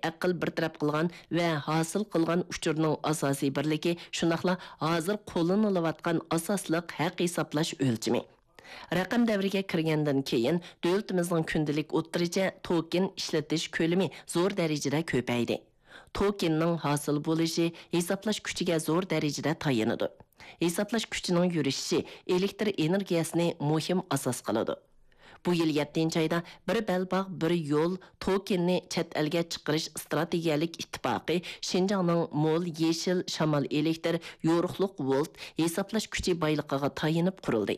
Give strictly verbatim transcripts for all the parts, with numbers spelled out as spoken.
ئەقىل بىر تەرەپ قىلغان ۋە ھاسىل قىلغان ئۇچۇرنىڭ ئاساسىي بىرلىكى، شۇنداقلا ھازىر قوللىنىلىۋاتقان ئاساسلىق ھەق ھېسابلاش ئۆلچىمى. رەقەم دەۋرىگە كىرگەندىن كېيىن، دۆلىتىمىزنىڭ كۈندىلىك ئوتتۇرىچە توكېن ئىشلىتىش كۆلىمى زور دەرىجىدە كۆپەيدى. توكېننىڭ ھاسىل بولۇشى ھېسابلاش كۈچىگە زور دەرىجىدە تايىنىدۇ. ھېسابلاش كۈچىنىڭ يۈرۈشۈشى ئېلېكتر ئېنېرگىيەسىنى مۇھىم ئاساس قىلىدۇ. بۇ يىل يەتتىنچى ئايدا بىر بەلباغ، بىر يول توكېننى چەت ئەلگە چىقىرىش ئىستراتېگىيەلىك ئىتتىپاقى شىنجاڭنىڭ مول يېشىل شامال ئېلېكتر يورۇقلۇق ۋولت ھېسابلاش كۈچى بايلىقىغا تايىنىپ قۇرۇلدى.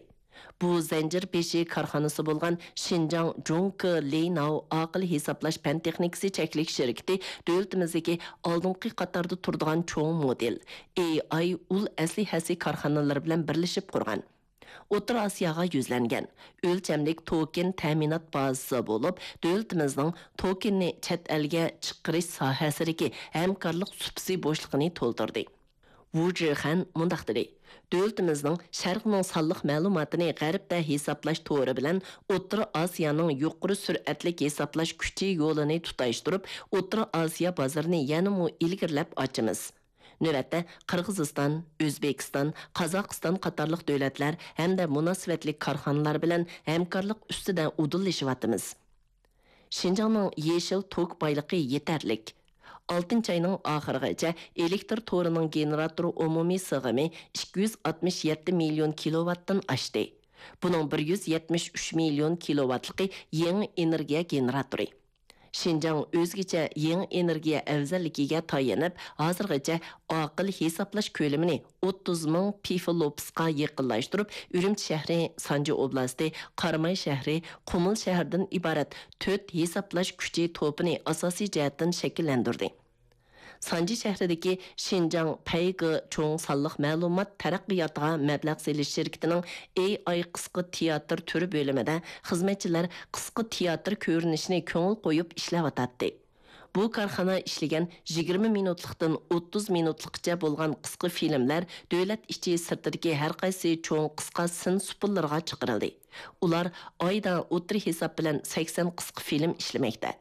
بۇ زەنجىر بېشى كارخانىسى بولغان شىنجاڭ جۇڭكې لېيناۋ ئاقىل ھېسابلاش پەن تېخنىكىسى چەكلىك شىركىتى دۆلىتىمىزدىكى ئالدىنقى قاتاردا تۇرىدىغان چوڭ مودېل، ئېي ئاي ئۇل ئەسلىھەسى كارخانىلىرى بىلەن بىرلىشىپ قۇرغان. ئوتتۇرا ئاسىياغا يۈزلەنگەن ئۆلچەملىك توكېن تەمىنات بازىسى بولۇپ، دۆلىتىمىزنىڭ توكېننى چەت ئەلگە چىقىرىش ساھەسىدىكى ھەمكارلىق سۇپىسى بوشلۇقىنى تولدۇردى. ۋۇ جىخەن مۇنداق دېدى: دۆلىتىمىزنىڭ شەرقنىڭ سانلىق مەلۇماتىنى غەربتە ھېسابلاش تورى بىلەن ئوتتۇرا ئاسىيانىڭ يۇقىرى سۈرئەتلىك ھېسابلاش كۈچى يولىنى تۇتاشتۇرۇپ، ئوتتۇرا ئاسىيا بازىرىنى يەنىمۇ ئىلگىرىلەپ ئاچىمىز. نۆۋەتتە، قىرغىزىستان، ئۆزبېكىستان، قازاقىستان قاتارلىق دۆلەتلەر ھەمدە مۇناسىۋەتلىك كارخانىلار بىلەن ھەمكارلىق ئۈستىدە ئۇدۇللىشىۋاتىمىز. شىنجاڭنىڭ يېشىل توك بايلىقى يېتەرلىك. ئالتىنچى ئاينىڭ ئاخىرىغىچە ئېلېكتر تورىنىڭ گېنېراتور ئومۇمىي سىغىمى ئىككى يۈز ئاتمىش يەتتە مىليون كىلوۋاتتىن ئاشتى. بۇنىڭ بىر يۈز يەتمىش ئۈچ مىليون كىلوۋاتلىقى يېڭى ئېنېرگىيە گېنېراتورى. شىنجاڭ ئۆزگىچە يېڭى ئېنېرگىيە ئەۋزەللىكىگە تايىنىپ، ھازىرغىچە ئاقىل ھېسابلاش كۆلىمىنى ئوتتۇز مىڭ پىفلوپسقا يېقىنلاشتۇرۇپ، ئۈرۈمچى شەھىرى، سانجى ئوبلاستى، قاراماي شەھىرى، قۇمۇل شەھىرىدىن ئىبارەت تۆت ھېسابلاش كۈچى توپىنى ئاساسىي جەھەتتىن شەكىللەندۈردى. سانجى شەھىرىدىكى شىنجاڭ پەيگې چوڭ سانلىق مەلۇمات تەرەققىياتىغا مەبلەغ سېلىش شىركىتىنىڭ ئېي ئاي قىسقا تىياتىر تۈرى بۆلۈمىدە خىزمەتچىلەر قىسقا تىياتىر كۆرۈنۈشىنى كۆڭۈل قويۇپ ئىشلەۋاتاتتى. بۇ كارخانا ئىشلىگەن يىگىرمە مىنۇتلۇقتىن ئوتتۇز مىنۇتلۇققىچە بولغان قىسقا فىلىملەر دۆلەت ئىچى سىرتىدىكى ھەر قايسى چوڭ قىسقا سىن سۇپىلىرىغا چىقىرىلدى. ئۇلار ئايدا ئوتتۇرا ھېساب بىلەن سەكسەن قىسقا فىلىم ئىشلىمەكتە.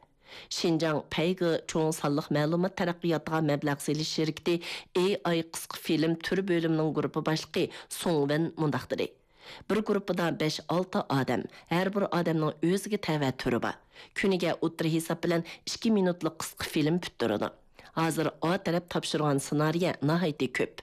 شىنجاڭ پەيگې چوڭ سانلىق مەلۇمات تەرەققىياتىغا مەبلەغ سېلىش شىركىتى ئېي ئاي قىسقا فىلىم تۈر بۆلۈمىنىڭ گۇرۇپپا باشلىقى سۇڭ ۋېن مۇنداق دېدى: بىر گۇرۇپپىدا بەش-ئالتە ئادەم، ھەر بىر ئادەمنىڭ ئۆزىگە تەۋە تۈرى بار. كۈنىگە ئوتتۇرا ھېساب بىلەن ئىككى مىنۇتلۇق قىسقا فىلىم پۈتتۈرىدۇ. ھازىر ئا تەرەپ تاپشۇرغان سېنارىيە ناھايىتى كۆپ.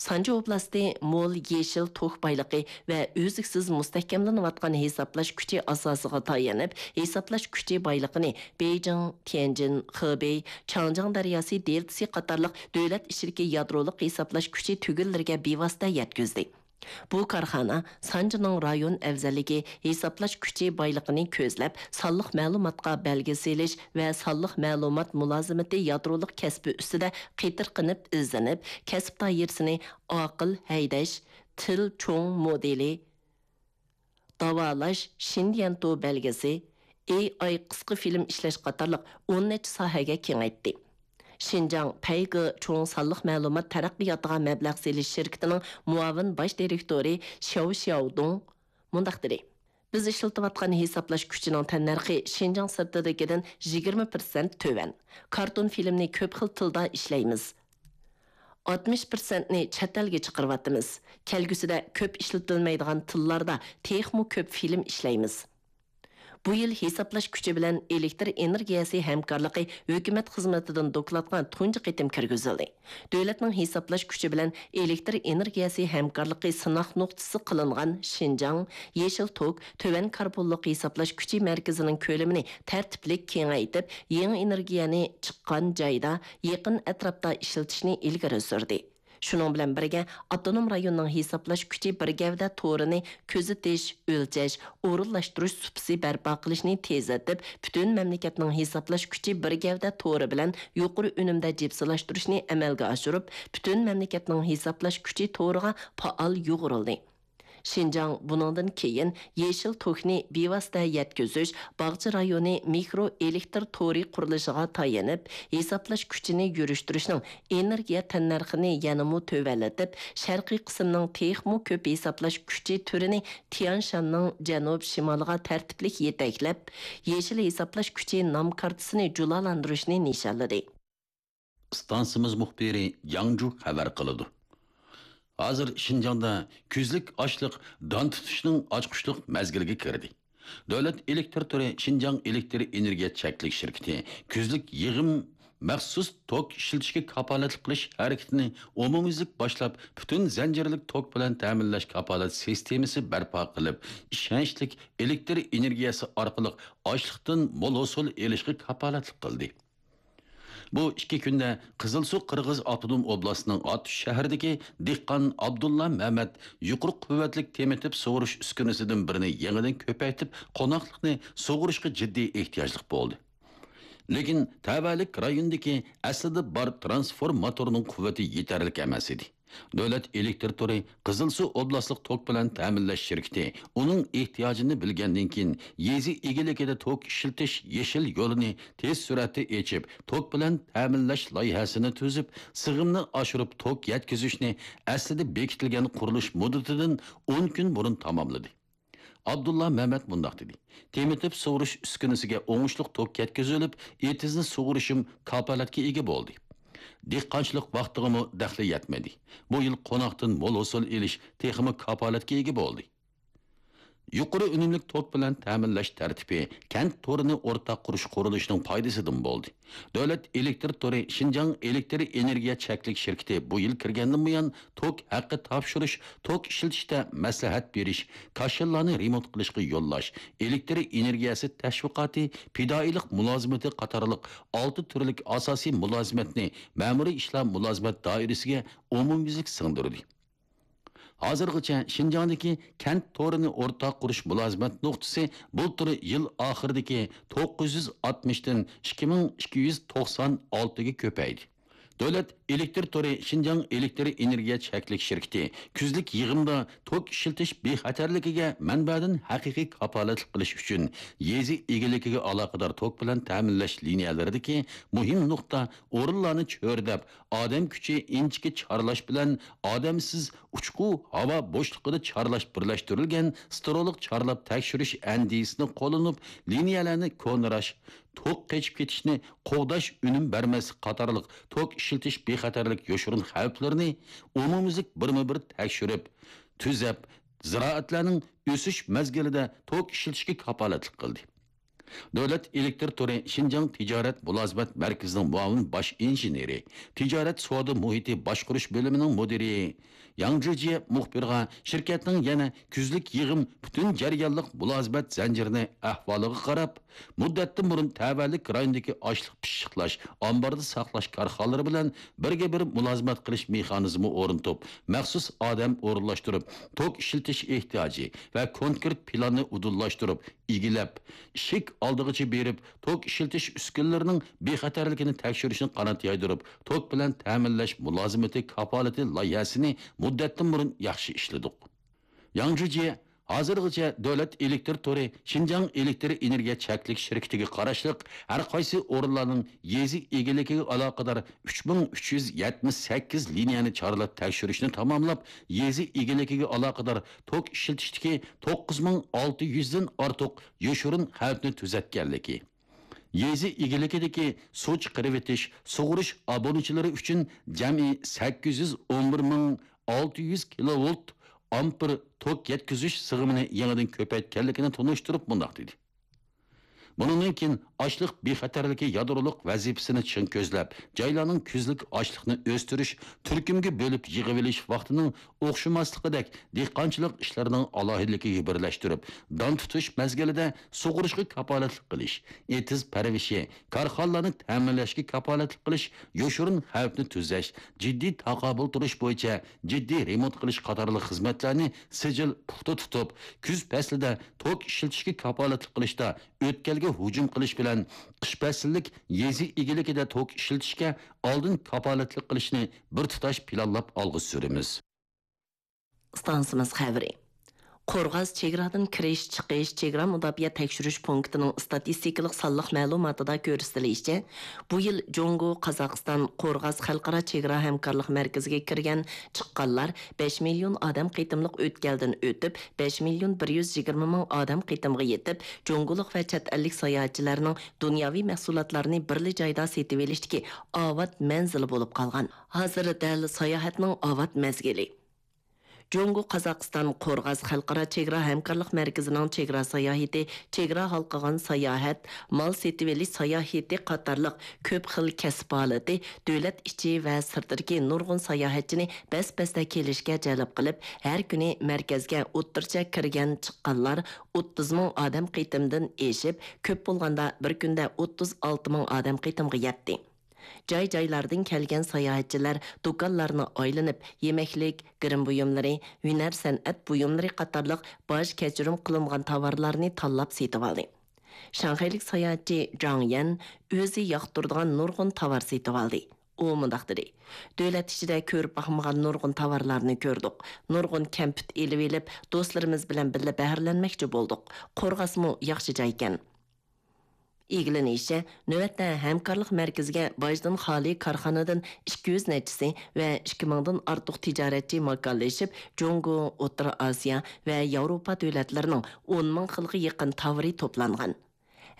سانجى ئوبلاستى مول يېشىل توك بايلىقى ۋە ئۈزلۈكسىز مۇستەھكەملىنىۋاتقان ھېسابلاش كۈچى ئاساسىغا تايىنىپ، ھېسابلاش كۈچى بايلىقىنى بېيجىڭ، تيەنجىن، خېبېي، چاڭجياڭ دەرياسى دېلتىسى قاتارلىق دۆلەت ئىچىدىكى يادرولۇق ھېسابلاش كۈچى تۈگۈنلىرىگە بىۋاسىتە يەتكۈزدى. بۇ كارخانا سانجىنىڭ رايون ئەۋزەللىكى، ھېسابلاش كۈچى بايلىقىنى كۆزلەپ، سانلىق مەلۇماتقا بەلگە سېلىش ۋە سانلىق مەلۇمات مۇلازىمىتى يادرولۇق كەسپى ئۈستىدە قېتىرقىنىپ ئىزدىنىپ، كەسىپ دائىرىسىنى ئاقىل ھەيدەش، تىل چوڭ مودېلى، داۋالاش، شىنديەنتو بەلگىسى، ئېي ئاي قىسقا فىلىم ئىشلەش قاتارلىق ئون نەچچە ساھەگە كېڭەيتتى. شىنجاڭ پەيگې چوڭ سانلىق مەلۇمات تەرەققىياتىغا مەبلەغ سېلىش شىركىتىنىڭ مۇئاۋىن باش دىرېكتورى شياۋ شياۋدۇڭ مۇنداق دېدى: بىز ئىشلىتىۋاتقان ھېسابلاش كۈچىنىڭ تەننەرخى شىنجاڭ سىرتىدىكىدىن يىگىرمە پىرسەنت تۆۋەن. كارتون فىلىمنى كۆپ خىل تىلدا ئىشلەيمىز. ئاتمىش پىرسەنتنى چەت ئەلگە چىقىرىۋاتىمىز. كەلگۈسىدە كۆپ ئىشلىتىلمەيدىغان تىللاردا تېخىمۇ كۆپ فىلىم ئىشلەيمىز. بۇ يىل ھېسابلاش كۈچى بىلەن ئېلېكتر ئېنېرگىيەسى ھەمكارلىقى ھۆكۈمەت خىزمىتىدىن دوكلاتقا تۇنجى قېتىم كىرگۈزۈلدى. دۆلەتنىڭ ھېسابلاش كۈچى بىلەن ئېلېكتر ئېنېرگىيەسى ھەمكارلىقى سىناق نۇقتىسى قىلىنغان شىنجاڭ، يېشىل توك، تۆۋەن كاربونلۇق ھېسابلاش كۈچى مەركىزىنىڭ كۆلىمىنى تەرتىپلىك كېڭەيتىپ، يېڭى ئېنېرگىيەنى چىققان جايدا، يېقىن ئەتراپتا ئىشلىتىشنى ئىلگىرى سۈردى. شۇنىڭ بىلەن بىرگە، ئاپتونوم رايوننىڭ ھېسابلاش كۈچى بىر گەۋدە تورىنى كۆزىتىش، ئۆلچەش، ئورۇنلاشتۇرۇش سۇپىسى بەرپا قىلىشنى تېزلىتىپ، پۈتۈن مەملىكەتنىڭ ھېسابلاش كۈچى بىر گەۋدە تورى بىلەن يۇقىرى ئۈنۈمدە جىپسىلاشتۇرۇشنى ئەمەلگە ئاشۇرۇپ، پۈتۈن مەملىكەتنىڭ ھېسابلاش كۈچى تورىغا پائال يۇغۇرۇلدى. شىنجاڭ بۇنىڭدىن كېيىن يېشىل توكنى بىۋاسىتە يەتكۈزۈش، باغچە رايونى مىكرو ئېلېكتر تورى قۇرۇلۇشىغا تايىنىپ، ھېسابلاش كۈچىنى يۈرۈشتۈرۈشنىڭ ئېنېرگىيە تەننەرخىنى يەنىمۇ تۆۋەنلىتىپ، شەرقىي قىسىمنىڭ تېخىمۇ كۆپ ھېسابلاش كۈچى تۈرىنى تيەنشاننىڭ جەنۇب-شىمالىغا تەرتىپلىك يېتەكلەپ، يېشىل ھېسابلاش كۈچى نام كارتىسىنى جۇلالاندۇرۇشنى نىشانلىدى. ئىستانسىمىز مۇخبىرى جاڭجۇ خەۋەر قىلىدۇ. ھازىر شىنجاڭدا كۈزلۈك ئاشلىق دان تۇتۇشنىڭ ئاچقۇچلۇق مەزگىلىگە كىردى. دۆلەت ئېلېكتر تورى شىنجاڭ ئېلېكتر ئېنېرگىيە چەكلىك شىركىتى كۈزلۈك يىغىم مەخسۇس توك ئىشلىتىشكە كاپالەتلىك قىلىش ھەرىكىتىنى ئومۇميۈزلۈك باشلاپ، پۈتۈن زەنجىرلىك توك بىلەن تەمىنلەش كاپالەت سىستېمىسى بەرپا قىلىپ، ئىشەنچلىك ئېلېكتر ئېنېرگىيەسى ئارقىلىق ئاشلىقتىن مول ھوسۇل ئېلىشقا كاپالەتلىك قىلدى. بۇ ئىككى كۈندە قىزىلسۇ قىرغىز ئاپتونوم ئوبلاستىنىڭ ئاتۇش شەھىرىدىكى دېھقان ئابدۇللا مەمەت يۇقىرى قۇۋۋەتلىك تېمىتىپ سۇغۇرۇش ئۈسكۈنىسىدىن بىرىنى يېڭىدىن كۆپەيتىپ، قوناقلىقنى سۇغۇرۇشقا جىددىي ئېھتىياجلىق بولدى. لېكىن تەۋەلىك رايوندىكى ئەسلىدە بار ترانسفورماتورنىڭ قۇۋۋىتى يېتەرلىك ئەمەس ئىدى. دۆلەت ئېلېكتر تورى قىزىلسۇ ئوبلاستلىق توك بىلەن تەمىنلەش شىركىتى ئۇنىڭ ئېھتىياجىنى بىلگەندىن كېيىن، يېزا ئىگىلىكىدە توك ئىشلىتىش يېشىل يولىنى تېز سۈرئەتتە ئېچىپ، توك بىلەن تەمىنلەش لايىھەسىنى تۈزۈپ، سىغىمنى ئاشۇرۇپ، توك يەتكۈزۈشنى ئەسلىدە بېكىتىلگەن قۇرۇلۇش مۇددىتىدىن ئون كۈن بۇرۇن تاماملىدى. ئابدۇللا مەمەت مۇنداق دېدى: تېمىتىپ سۇغۇرۇش ئۈسكۈنىسىگە ئوڭۇشلۇق توك يەتكۈزۈلۈپ، ئېتىزنى سۇغۇرۇشۇم كاپالەتكە ئىگە بولدى. دېھقانچىلىق ۋاقتىغىمۇ دەخلى يەتمىدى. بۇ يىل قوناقتىن مول ھوسۇل ئېلىش تېخىمۇ كاپالەتكە ئىگە بولدى. يۇقىرى ئۈنۈملۈك توك بىلەن تەمىنلەش تەرتىپى كەنت تورىنى ئورتاق قۇرۇش قۇرۇلۇشىنىڭ پايدىسىدىن بولدى. دۆلەت ئېلېكتر تورى شىنجاڭ ئېلېكتر ئېنېرگىيە چەكلىك شىركىتى بۇ يىل كىرگەندىن بۇيان، توك ھەققى تاپشۇرۇش، توك ئىشلىتىشتە مەسلىھەت بېرىش، كاشىلارنى رېمونت قىلىشقا يوللاش، ئېلېكتر ئېنېرگىيەسى تەشۋىقاتى، پىدائىيلىق مۇلازىمىتى قاتارلىق ئالتە تۈرلۈك ئاساسىي مۇلازىمەتنى مەمۇرىي ئىشلار مۇلازىمەت دائىرىسىگە ئومۇميۈزلۈك سىڭدۈردى. ھازىرغىچە شىنجاڭدىكى كەنت تورىنى ئورتاق قۇرۇش مۇلازىمەت نۇقتىسى بۇلتۇر يىل ئاخىرىدىكى توققۇز يۈز ئاتمىشتىن ئىككى مىڭ ئىككى يۈز توقسان ئالتىگە كۆپەيدى. دۆلەت ئېلېكتر تورى شىنجاڭ ئېلېكتر ئېنېرگىيە چەكلىك شىركىتى كۈزلۈك يىغىمدا توك ئىشلىتىش بىخەتەرلىكىگە مەنبەدىن ھەقىقىي كاپالەتلىك قىلىش ئۈچۈن، يېزا ئىگىلىكىگە ئالاقىدار توك بىلەن تەمىنلەش لىنىيەلىرىدىكى مۇھىم نۇقتا ئورۇنلارنى چۆرىدەپ، ئادەم كۈچى ئىنچىكە چارلاش بىلەن ئادەمسىز ئۇچقۇ ھاۋا بوشلۇقىدا چارلاش بىرلەشتۈرۈلگەن ستېرېئولۇق چارلاپ تەكشۈرۈش ئەندىزىسىنى قوللىنىپ، لىنىيەلەرنى كونىراش، توك قېچىپ كېتىشنى قوغداش، ئۈنۈم بەرمەسلىك قاتارلىق توك ئىشلىتىش بىخەتەرلىك يوشۇرۇن خەۋپلىرىنى ئومۇميۈزلۈك بىرمۇ بىر تەكشۈرۈپ، تۈزەپ، زىرائەتلەرنىڭ ئۆسۈش مەزگىلىدە توك ئىشلىتىشكە كاپالەتلىك قىلدى. دۆلەت ئېلېكتر تورى شىنجاڭ تىجارەت مۇلازىمەت مەركىزىنىڭ مۇئاۋىن باش ئىنژېنېرى، تىجارەت سودا مۇھىتى باشقۇرۇش بۆلۈمىنىڭ مۇدىرى ياڭ جىجيې مۇخبىرغا شىركەتنىڭ يەنە كۈزلۈك يىغىم پۈتۈن جەريانلىق مۇلازىمەت زەنجىرىنى ئەھۋالىغا قاراپ، مۇددەتتىن بۇرۇن تەۋەلىك رايوندىكى ئاشلىق پىششىقلاش، ئامباردا ساقلاش كارخانىلىرى بىلەن بىرگە بىر مۇلازىمەت قىلىش مېخانىزمى ئورنىتىپ، مەخسۇس ئادەم ئورۇنلاشتۇرۇپ، توك ئىشلىتىش ئېھتىياجى ۋە كونكرېت پىلاننى ئۇدۇللاشتۇرۇپ، ئىگىلەپ، ئىشىك ئالدىغىچە بېرىپ، توك ئىشلىتىش ئۈسكۈنىلىرىنىڭ بىخەتەرلىكىنى تەكشۈرۈشنى قانات يايدۇرۇپ، توك بىلەن تەمىنلەش مۇلازىمىتى كاپالىتى لايىھەسىنى مۇددەتتىن بۇرۇن ياخشى ئىشلىدۇق. ياڭ جىجيې ھازىرغىچە دۆلەت ئېلېكتر تورى شىنجاڭ ئېلېكتر ئېنېرگىيە چەكلىك شىركىتىگە قاراشلىق ھەر قايسى ئورۇنلارنىڭ يېزا ئىگىلىكىگە ئالاقىدار ئۈچ مىڭ ئۈچ يۈز يەتمىش سەككىز لىنىيەنى چارلاپ تەكشۈرۈشنى تاماملاپ، يېزا ئىگىلىكىگە ئالاقىدار توك ئىشلىتىشتىكى توققۇز مىڭ ئالتە يۈزدىن ئارتۇق يوشۇرۇن خەۋپنى تۈزەتكەنلىكى، يېزا ئىگىلىكىدىكى سۇ چىقىرىۋېتىش، سۇغۇرۇش ئابۇنىچىلىرى ئۈچۈن جەمئىي سەككىز يۈز ئون بىر مىڭ ئالتە يۈز كىلوۋولت ئامپېر توك يەتكۈزۈش سىغىمىنى يېڭىدىن كۆپەيتكەنلىكىنى تونۇشتۇرۇپ مۇنداق دېدى: بۇنىڭدىن كېيىن ئاشلىق بىخەتەرلىكى يادرولۇق ۋەزىپىسىنى چىڭ كۆزلەپ، جايلارنىڭ كۈزلۈك ئاشلىقنى ئۆستۈرۈش، تۈركۈمگە بۆلۈپ يىغىۋېلىش ۋاقتىنىڭ ئوخشىماسلىقىدەك دېھقانچىلىق ئىشلىرىنىڭ ئالاھىدىلىكىگە بىرلەشتۈرۈپ، دان تۇتۇش مەزگىلىدە سۇغۇرۇشقا كاپالەتلىك قىلىش، ئېتىز پەرۋىشى، كارخانىلارنى تەمىنلەشكە كاپالەتلىك قىلىش، يوشۇرۇن خەۋپنى تۈزەش، جىددىي تاقابىل تۇرۇش بويىچە جىددىي رېمونت قىلىش قاتارلىق خىزمەتلەرنى سىجىل پۇختا تۇتۇپ، كۈز پەسلىدە توك ئىشلىتىشكە كاپالەتلىك قىلىشتا ئۆتكەلگە ھۇجۇم قىلىش بىلەن قىش پەسىللىك يېزا ئىگىلىكىدە توك ئىشلىتىشكە ئالدىن كاپالەتلىك قىلىشنى بىر تۇتاش پىلانلاپ ئالغا سۈرىمىز. ئىستانسىمىز خەۋىرى. قورغاس چېگرادىن كىرىش، چىقىش چېگرا مۇداپىئە تەكشۈرۈش پونكىتىنىڭ ئىستاتىستىكىلىق سانلىق مەلۇماتىدا كۆرسىتىلىشىچە، بۇ يىل جۇڭگو، قازاقىستان، قورغاس خەلقئارا چېگرا ھەمكارلىق مەركىزىگە كىرگەن، چىققانلار بەش مىليون ئادەم قېتىملىق ئۆتكەلدىن ئۆتۈپ، بەش مىليون بىر يۈز يىگىرمە مىڭ ئادەم قېتىمغا يېتىپ، جۇڭگولۇق ۋە چەت ئەللىك ساياھەتچىلەرنىڭ دۇنياۋى مەھسۇلاتلارنى بىرلا جايدا سېتىۋېلىشتىكى ئاۋات مەنزىلى بولۇپ قالغان. ھازىر دەل ساياھەتنىڭ ئاۋات مەزگىلى. جۇڭگو، قازاقىستان، قورغاس خەلقئارا چېگرا ھەمكارلىق مەركىزىنىڭ چېگرا ساياھىتى، چېگرا ھالقىغان ساياھەت، مال سېتىۋېلىش ساياھىتى قاتارلىق كۆپ خىل كەسىپ ھالىتى دۆلەت ئىچى ۋە سىرتىدىكى نۇرغۇن ساياھەتچىنى بەس-بەستە كېلىشكە جەلپ قىلىپ، ھەر كۈنى مەركەزگە ئوتتۇرىچە كىرگەن، چىققانلار ئوتتۇز مىڭ ئادەم قېتىمدىن ئېشىپ، كۆپ بولغاندا بىر كۈندە ئوتتۇز ئالتە مىڭ ئادەم قېتىمغا يەتتى. جاي-جايلاردىن كەلگەن ساياھەتچىلەر دۇكانلارنى ئايلىنىپ، يېمەكلىك، گىرىم بۇيۇملىرى، ھۈنەر-سەنئەت بۇيۇملىرى قاتارلىق باج كەچۈرۈم قىلىنغان تاۋارلارنى تاللاپ سېتىۋالدى. شاڭخەيلىك ساياھەتچى جاڭ يەن ئۆزى ياقتۇرىدىغان نۇرغۇن تاۋار سېتىۋالدى. ئۇ مۇنداق دېدى: «دۆلەت ئىچىدە كۆرۈپ باقمىغان نۇرغۇن تاۋارلارنى كۆردۇق. نۇرغۇن كەمپۈت ئېلىۋېلىپ، دوستلىرىمىز بىلەن بىللە بەھرىلەنمەكچى بولدۇق. قورغاسمۇ ياخشى جايكەن.» ئىگىلىنىشىچە، نۆۋەتتە ھەمكارلىق مەركىزىگە باجدىن خالىي كارخانىدىن ئىككى يۈز نەچچىسى ۋە ئىككى مىڭدىن ئارتۇق تىجارەتچى ماكانلىشىپ، جۇڭگو، ئوتتۇرا ئاسىيا ۋە ياۋروپا دۆلەتلىرىنىڭ ئون مىڭ خىلغا يېقىن تاۋىرى توپلانغان.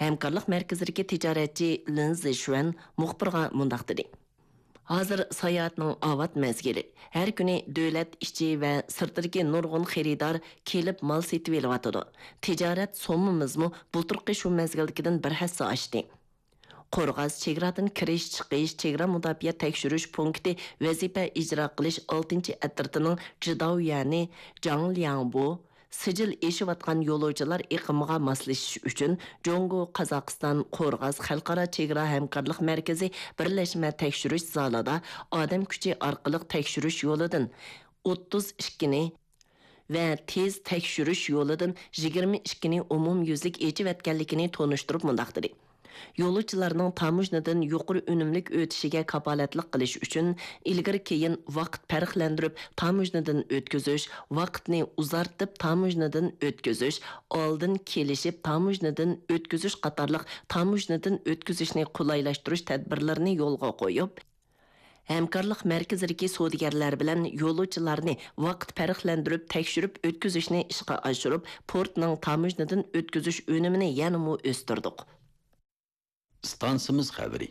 ھەمكارلىق مەركىزىدىكى تىجارەتچى لىن زىشۈەن مۇخبىرغا مۇنداق دېدى: «ھازىر ساياھەتنىڭ ئاۋات مەزگىلى. ھەر كۈنى دۆلەت ئىچى ۋە سىرتىدىكى نۇرغۇن خېرىدار كېلىپ مال سېتىۋېلىۋاتىدۇ. تىجارەت سوممىمىزمۇ بۇلتۇرقى شۇ مەزگىلدىكىدىن بىر ھەسسە ئاشتى.» قورغاس چېگرادىن كىرىش، چىقىش، چېگرا مۇداپىئە تەكشۈرۈش پونكىتى ۋەزىپە ئىجرا قىلىش ئالتىنچى ئەترىتىنىڭ جىداۋيۈەنى جاڭ لياڭبو سىجىل ئېشىۋاتقان يولۇچىلار ئېقىمىغا ماسلىشىش ئۈچۈن، جۇڭگو، قازاقىستان، قورغاس خەلقئارا چېگرا ھەمكارلىق مەركىزى بىرلەشمە تەكشۈرۈش زالىدا ئادەم كۈچى ئارقىلىق تەكشۈرۈش يولىدىن ئوتتۇز ئىككىنى ۋە تېز تەكشۈرۈش يولىدىن يىگىرمە ئىككىنى ئومۇميۈزلۈك ئېچىۋەتكەنلىكىنى تونۇشتۇرۇپ مۇنداق دېدى: «يولۇچىلارنىڭ تاموژنىدىن يۇقىرى ئۈنۈملۈك ئۆتۈشىگە كاپالەتلىك قىلىش ئۈچۈن، ئىلگىرى-كېيىن ۋاقىت پەرقلەندۈرۈپ تاموژنىدىن ئۆتكۈزۈش، ۋاقىتنى ئۇزارتىپ تاموژنىدىن ئۆتكۈزۈش، ئالدىن كېلىشىپ تاموژنىدىن ئۆتكۈزۈش قاتارلىق تاموژنىدىن ئۆتكۈزۈشنى قولايلاشتۇرۇش تەدبىرلىرىنى يولغا قويۇپ، ھەمكارلىق مەركىزىدىكى سودىگەرلەر بىلەن يولۇچىلارنى ۋاقىت پەرقلەندۈرۈپ تەكشۈرۈپ ئۆتكۈزۈشنى ئىشقا ئاشۇرۇپ، پورتنىڭ تاموژنىدىن ئۆتكۈزۈش ئۈنۈمىنى يەنىمۇ ئۆستۈردۇق.» ئىستانسىمىز خەۋىرى.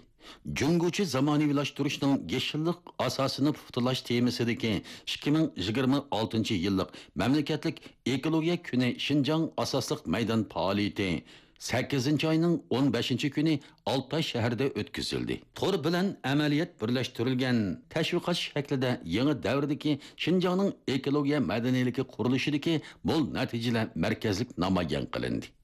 جۇڭگوچە زامانىۋىلاشتۇرۇشنىڭ يېشىللىق ئاساسىنى پۇختىلاش تېمىسىدىكى ئىككى مىڭ يىگىرمە ئالتىنچى يىللىق مەملىكەتلىك ئېكولوگىيە كۈنى شىنجاڭ ئاساسلىق مەيدان پائالىيىتى سەككىزىنچى ئاينىڭ ئون بەشىنچى كۈنى ئالتاي شەھىرىدە ئۆتكۈزۈلدى. تور بىلەن ئەمەلىيەت بىرلەشتۈرۈلگەن تەشۋىقات شەكلىدە يېڭى دەۋردىكى شىنجاڭنىڭ ئېكولوگىيە مەدەنىيلىكى قۇرۇلۇشىدىكى مول نەتىجىلەر مەركەزلىك نامايان قىلىندى.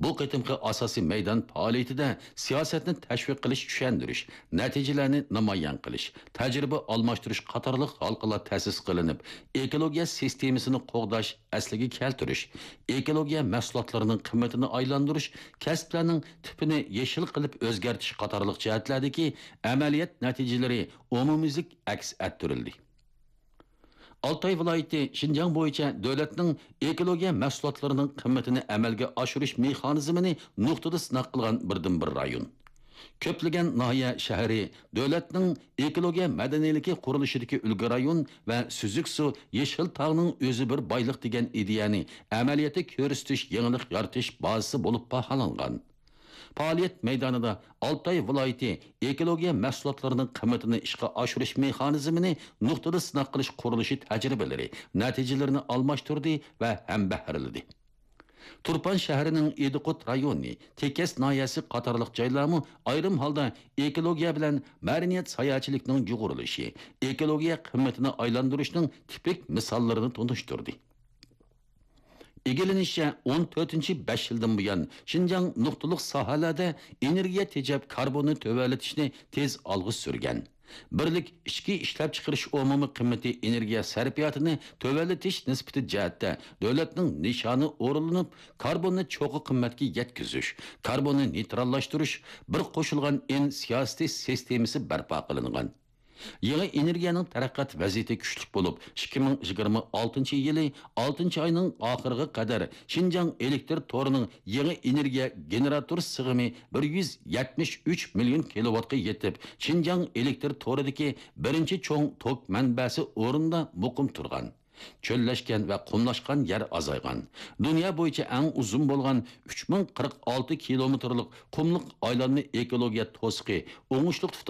بۇ قېتىمقى ئاساسىي مەيدان پائالىيىتىدە سىياسەتنى تەشۋىق قىلىش، چۈشەندۈرۈش، نەتىجىلەرنى نامايان قىلىش، تەجرىبە ئالماشتۇرۇش قاتارلىق ھالقىلار تەسىس قىلىنىپ، ئېكولوگىيە سىستېمىسىنى قوغداش ئەسلىگە كەلتۈرۈش، ئېكولوگىيە مەھسۇلاتلىرىنىڭ قىممىتىنى ئايلاندۇرۇش، كەسىپلەرنىڭ تىپىنى يېشىل قىلىپ ئۆزگەرتىش قاتارلىق جەھەتلەردىكى ئەمەلىيەت نەتىجىلىرى ئومۇميۈزلۈك ئەكس ئەتتۈرۈلدى. ئالتاي ۋىلايىتى شىنجاڭ بويىچە دۆلەتنىڭ ئېكولوگىيە مەھسۇلاتلىرىنىڭ قىممىتىنى ئەمەلگە ئاشۇرۇش مېخانىزمىنى نۇقتىدا سىناق قىلغان بىردىنبىر رايون. كۆپلىگەن ناھىيە، شەھىرى دۆلەتنىڭ ئېكولوگىيە مەدەنىيلىكى قۇرۇلۇشىدىكى ئۈلگە رايون ۋە سۈزۈك سۇ، يېشىل تاغنىڭ ئۆزى بىر بايلىق دېگەن ئىدىيەنى ئەمەلىيەتتە كۆرسىتىش، يېڭىلىق يارىتىش بازىسى بولۇپ باھالانغان. پائالىيەت مەيدانىدا ئالتاي ۋىلايىتى ئېكولوگىيە مەھسۇلاتلىرىنىڭ قىممىتىنى ئىشقا ئاشۇرۇش مېخانىزمىنى نۇقتىدا سىناق قىلىش قۇرۇلۇشى تەجرىبىلىرى، نەتىجىلىرىنى ئالماشتۇردى ۋە ھەمبەھىرلىدى. تۇرپان شەھىرىنىڭ ئىدىقۇت رايونى، تېكەس ناھىيەسى قاتارلىق جايلارمۇ ئايرىم ھالدا ئېكولوگىيە بىلەن مەدەنىيەت ساياھەتچىلىكنىڭ يۇغۇرۇلۇشى، ئېكولوگىيە قىممىتىنى ئايلاندۇرۇشنىڭ تىپىك مىساللىرىنى تونۇشتۇردى. ئىگىلىنىشىچە، ئون تۆتىنچى بەش يىلدىن بۇيان، شىنجاڭ نۇقتىلىق ساھەلەردە ئېنېرگىيە تېجەپ، كاربوننى تۆۋەنلىتىشنى تېز ئالغا سۈرگەن. بىرلىك ئىچكى ئىشلەپچىقىرىش ئومۇمىي قىممىتى ئېنېرگىيە سەرپىياتىنى تۆۋەنلىتىش نىسبىتى جەھەتتە دۆلەتنىڭ نىشانى ئورۇنلىنىپ، كاربوننى چوققا قىممەتكە يەتكۈزۈش، كاربوننى نېيتراللاشتۇرۇش، بىر قوشۇلغان ئېن سىياسىتى سىستېمىسى بەرپا قىلىنغان. يېڭى ئېنېرگىيەنىڭ تەرەققىيات ۋەزىيىتى كۈچلۈك بولۇپ، ئىككى مىڭ يىگىرمە ئالتىنچى يىلى ئالتىنچى ئاينىڭ ئاخىرىغا قەدەر شىنجاڭ ئېلېكتر تورىنىڭ يېڭى ئېنېرگىيە گېنېراتور سىغىمى بىر يۈز يەتمىش ئۈچ مىليون كىلوۋاتقا يېتىپ، شىنجاڭ ئېلېكتر تورىدىكى بىرىنچى چوڭ توك مەنبەسى ئورنىدا مۇقىم تۇرغان. چۆللەشكەن ۋە قۇملاشقان يەر ئازايغان. دۇنيا بويىچە ئەڭ ئۇزۇن بولغان ئۈچ مىڭ قىرىق ئالتە كىلومېتىرلىق قۇملۇق ئايلانما ئېكولوگىيە توسۇقى ئوڭۇشلۇق تۇتاش